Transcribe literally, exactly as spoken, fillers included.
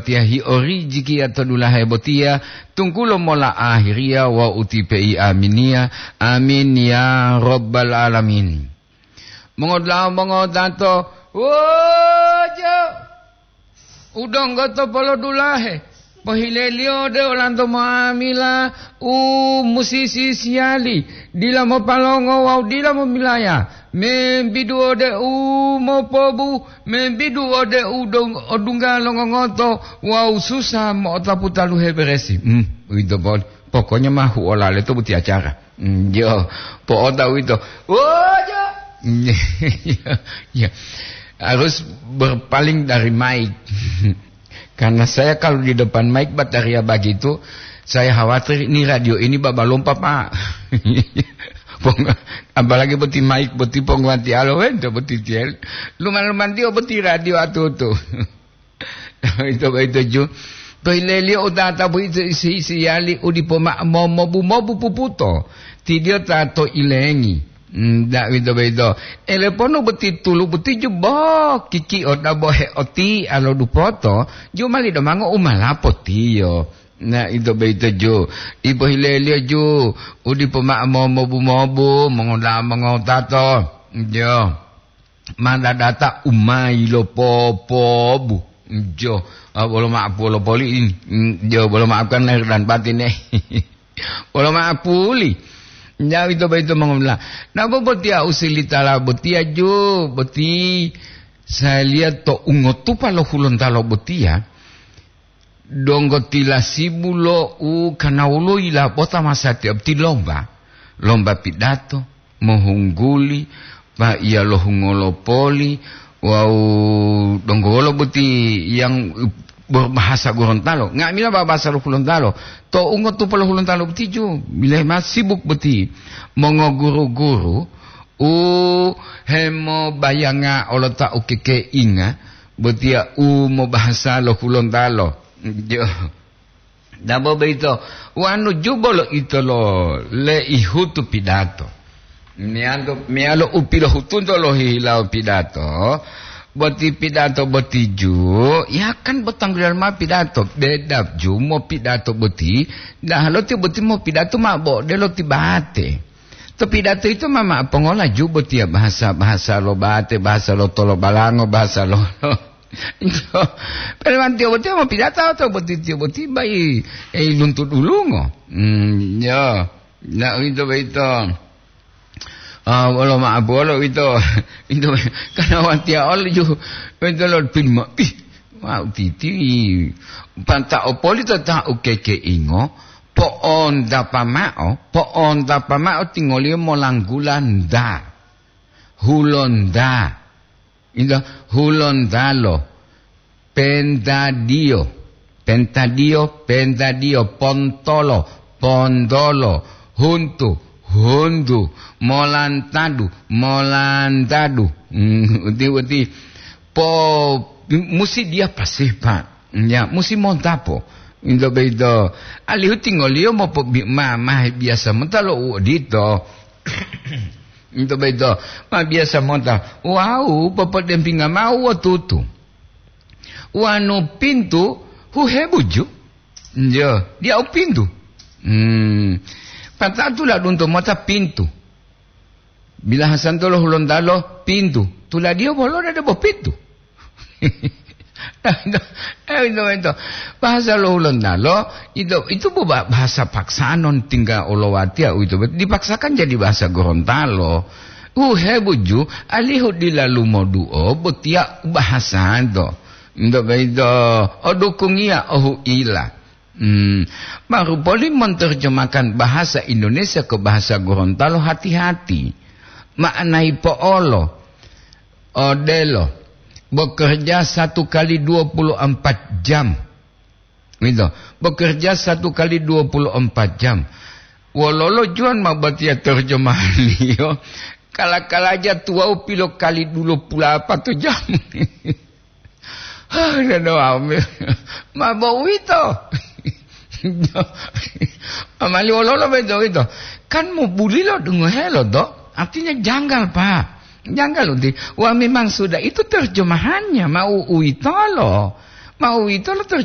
Yahio rijikiya to dulahe botiya, tunggulo mola ahiriya wawu utipe'i aminiya. Amin ya rabbal alamin. Mongodula'a mongotato, wojo! Udonggo to polodulahe, pohileliyo ode olanto mo'amila u musi sisiyali, dila mopalongo wawu dila momilaya, membidu ode u mopobu, membidu ode u dong-, odungga longongoto wawu susa mo'otapu taluhe beresi. Hmm, uwito poli. Pokoknya ma huolale to boti acara. Hmm, jo, po'ota uwito. Wojo! Ya, harus berpaling dari mic. Karena saya kalau di depan mic bataria begitu, saya khawatir ini radio ini babalompa, Pak. Pong-, apalagi boti mic, boti pongguwatiyalo wento boti tiel. Luman-luman tiyo boti radio atutu. Ito boyito ju. To ileliyo utata boyito isi-isiyali u dipo ma'o mo-, mobu-mobu puputo. Tidiyo ta to ilengi. Hmm, da-, uwito boyito. Eleponu boti tulu boti ju bo kiki o dabo heoti'a lo dupoto, ju mali domango u malapo tiyo. Na, ito boyito ju. Ipo hileliyo ju, u dipo ma'o mo-, mobu-mobu, mongoda-, mongotato. Jo. Ma dadata u ma yilopopobu. Jo, ah, bolo ma'apu lo poli ini. Mm, jo, bolo ma'apu kan lahir dan batin, eh. Bolo ma'apuli. Nyawi to boyito mongomla. Nabo botiya u silitala botiya jo, boti saya lihat to ungotupa lo Hulontalo botiya. Donggo tilasibu lo u kanawulo yilapota masatiya boti lomba, lomba pidato, mohungguli, paiya lo hungolo poli, wawu donggo wolo boti yang berbahasa Gorontalo. Nga'amila ba-, bahasa lo Hulontalo. To ungotupa lo Hulontalo boti ju, bilahi ma sibuk boti. Mongoguru-guru u hemobayanga olota u kekeinga, botiya u mobahasa lo Hulontalo. Jo. Dabo boyito, wanu jubo lo ito lo leihutu pidato. Meyalo, meyalo u pilohutunto lohihilawo pidato, boti pidato boti ju, ya kan bo tanggulilan ma pidato, beda ju mopidato boti, dahalo tiyo boti mopidato ma bo odelo ti bate. To pidato ito ma, ma pongola ju botiya bahasa, bahasa lo bate, bahasa lo tolobalango, bahasa lo, lo. Pelewantiyo botiya mopidato to boti tiyo boti bai, eh, luntu dulungo. Hmm, ya. Na, uwito boyito. Ah, wolo ma'apu wolo uwito. Uwito, karena watiya olo ju, uwito lo pin ma-, ih, wau titi. Panta opolito ta u kekeingo, po'ontapa ma'o, po'ontapa ma'o tingoliyo molanggula nda. Hulonda. Ito, Hulontalo. Pentadiyo. Pentadiyo, pentadiyo, pontolo, pondolo, huntu, huntu, molantadu, molantadu. Hmm, uti, uti. Po, musi dia pasih, Pak. Ya, musi montapo. Into boyito. Alihu tingoliyo mopobi-, ma, ma biyasa mota lo u odito. Into boyito. Ma biyasa mota. Wau, popodempinga ma'o u otutu. Wanu pintu, huhebuju. Njo, diya u pintu. Hmm. Pata'o tuladunto mota pintu. Bilahasanto lo Hulontalo pintu. Tuladiyo bolo dede bo pintu. Eh, ito, ito. Bahasa lo Hulontalo, ito, itu bu-, ba-, bahasa paksaan non tingga olowatiya uwito. Dipaksakan jadi bahasa Gorontalo. Uhebuju, alihu dila lumoduo, botiya bahasanto. Ito, ito, odukungiya, ohuila. Hmm, marupoli monterjemahkan bahasa Indonesia ke bahasa Gorontalo, hati-hati. Maknai po'olo, odelo, bekerja satu kali dua puluh empat jam. Gitu. Bekerja satu kali dua puluh empat jam. Wololo juwan ma botiya terjemahaniyo? Kala-kalaja tuwawu pilo kali dua puluh apa to jam. Hah, dada wau me-, ma bo uwito. Amali wololo boyito, uwito. Kan mubulilo dungohelo, do? Artinya janggal, Pak. Janggal, uti. Wah, memang sudah itu terjemahannya. Ma u-, uwitolo. Ma uwitolo terjemahannya.